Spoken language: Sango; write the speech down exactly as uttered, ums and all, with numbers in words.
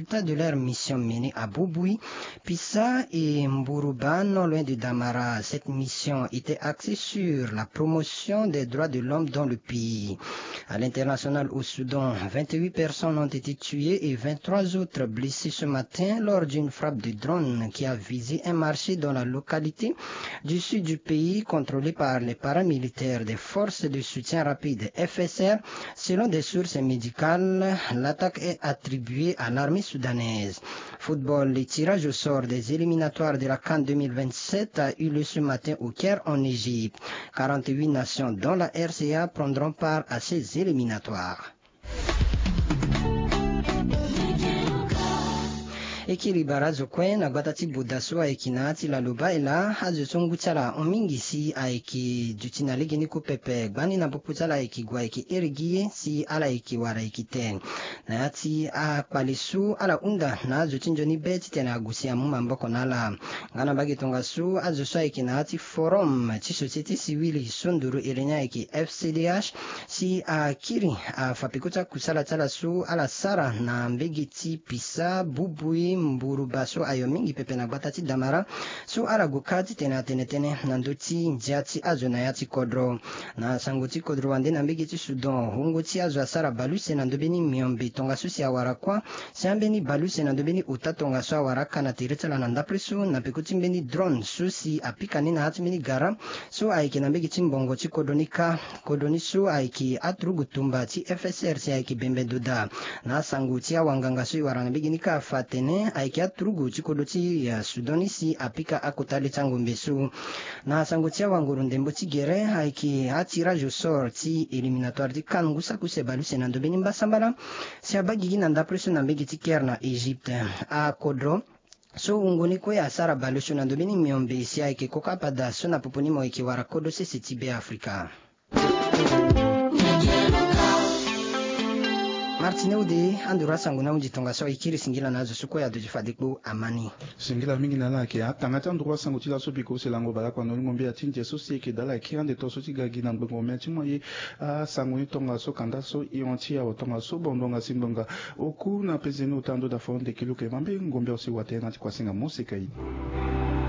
résultats de leur mission menée à Bouboui, Pissa et Mbourouba, non loin de Damara. Cette mission était axée sur la promotion des droits de l'homme dans le pays. À l'international, au Soudan, vingt-huit personnes ont été tuées et vingt-trois autres blessées ce matin lors d'une frappe de drone qui a visé un marché dans la localité du sud du pays contrôlée par les paramilitaires des forces de soutien rapide, F S R. Selon des sources médicales, l'attaque est attribuée à l'armée soudanaise. Football, le tirage au sort des éliminatoires de la CAN deux mille vingt-sept a eu lieu ce matin au Caire en Égypte. Quarante-huit nations, dont la R C A, prendront part à ces éliminatoires. E kiri bara azo kue na gbata ti Buda so ayeke na ya ti Laloba ela, azo so ngu ti ala ahon mingi si ayeke duti na legeni ku pepe. Gbani na popo ti ala ayeke gue ayeke iri gi ye si ala yeke wara ayeke te. Na ya ti akpale so ala hunda na azo ti nzoni be titene ague si amu maboko na ala. Nga na mbage tongaso, azo so ayeke na ya ti forum ti société civile so nduru iri ni ayeke F C D H, si akiri afa peko ti akusala ti ala so ala sara na mbage ti Pisa, Bubui, Mburuba so ayo mingi pepe na gbata ti Damara, so ala gue kâ titene atene tënë na ndö ti ndia ti azo na ya ti kodro. Na sango ti kodro wande na mbage ti Soudan, wungo ti azo asara baleuse na ndö mbeni miombe tongaso si awara kuâ, si ambeni baleuse na ndö mbeni ota tongaso awara aka na tere ti ala na ndapre so na peko ti mbeni drone so si apika ni na ya ti mbeni gara so ayeke na mbage ti mbongo ti kodro ni kâ. Kodro ni so ayeke aturugu tumba ti F S R si ayeke bembe ndo daa. Na asango ti awanganga so e wara na mbage ni kâ afa atene ayeke aturugu ti kodro ti, eh, Soudan ni si apika akota le ti angombe so. Na sango ti awanguru ndembo ti gere ayeke atirage au sort ti éliminatoire ti CAN ngu saki use baleuse na ndo mbeni mbasambala si abaa gigi na ndapre so na mbage ti Caire na Égypte. Akodro so wungo ni kue asara baleuse na ndo mbeni miombe si ayeke koko apada so na popo ni mo yeke wara kodro sese ti Beafrika. Martine Ude, anduru asango ni ahunzi tongaso, e kiri singila na azo so kue aduti fade kpo ama ni. Singila mingi na ala ayeke atanga ti anduru asango ti laso biko use lango bale akua na olingo mbia ti ndia so si e yeke daa ala ayeke ande to so ti ga gi na ngbongo mia ti mo aye. Asango ni tongaso kanda so e hon ti awe tongaso bongbonga si ngbonga oku na peze ni ota ndo daa fo ndeke luke mambe ngombe ose watene na ti kuasinga moseka ye.